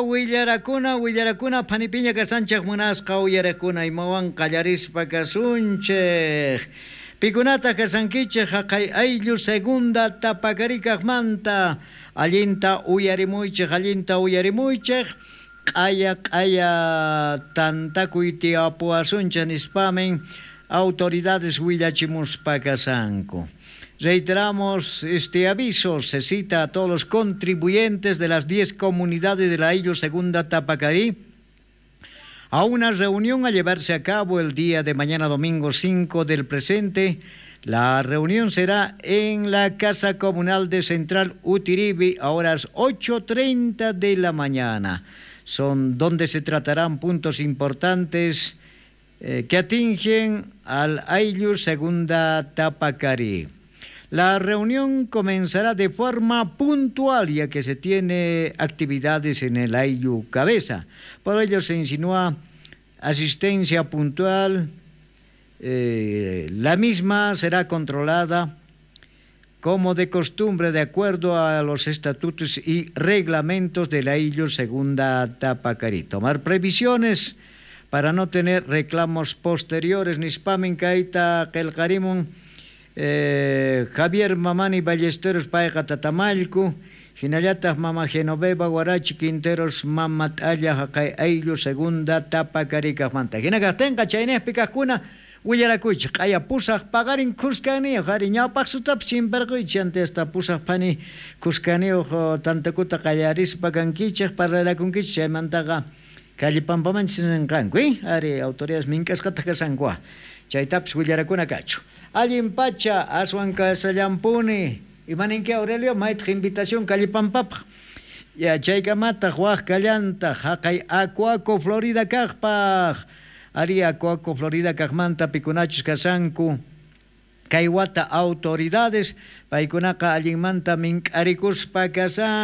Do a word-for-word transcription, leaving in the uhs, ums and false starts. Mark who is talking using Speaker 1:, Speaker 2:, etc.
Speaker 1: Willarakuna, willarakuna, phanipiña kasanchej munasqa uyarekuna imawan qallarispa kasunchej. Pikunataq kasankichej haqay ayllu segunda tapakarikaqmanta allinta uyarimuychej, allinta uyarimuychej, q'aya q'aya tantakuy tiyapuwasunchej nispamin autoridades willachimuspa kasanku. Reiteramos este aviso, se cita a todos los contribuyentes de las diez comunidades de la Ayllu Segunda Tapacarí a una reunión a llevarse a cabo el día de mañana domingo cinco del presente. La reunión será en la Casa Comunal de Central Utiribi a horas ocho treinta de la mañana. Son donde se tratarán puntos importantes eh, que atingen al Ayllu Segunda Tapacarí. La reunión comenzará de forma puntual, ya que se tiene actividades en el Ayllu Cabeza. Por ello se insinúa asistencia puntual. Eh, la misma será controlada como de costumbre de acuerdo a los estatutos y reglamentos del Ayllu Segunda Tapacarí. Tomar previsiones para no tener reclamos posteriores. Nispamin kayta qelqarimun Eh, Javier Mamani Ballesteros payqa Tatamallku, hinallataq Mama Genoveva Guarachi Quinteros Mama T'alla haqay ayllu Segunda Tapakarikaqmanta. Hina kaqtinqa chaynejpi kaqkuna willarakuychik q'aya pusaq paqarin khuskaniyuq ari ñawpaq sutapis chimparquychik antesta pusaq phani khuskaniyuq tantakuta qallarispa kankichik parlarakunkichik chaymantaqa Callipampamanchis ninqanku, eh? Ari autoridades mink'asqataq kasanku chaytapis willarakuna kachu. Allin pacha aswan kasallampuni imaninki Aurelio maytaq invitación Callipampapaq ya chaykamataq waq kallantaq haqay Acuaco Florida kaqpaq ari Acuaco Florida kaqmanta pikunachus kasanku kay wata autoridades paykunaqa allinmanta mink'arikuspa kasan.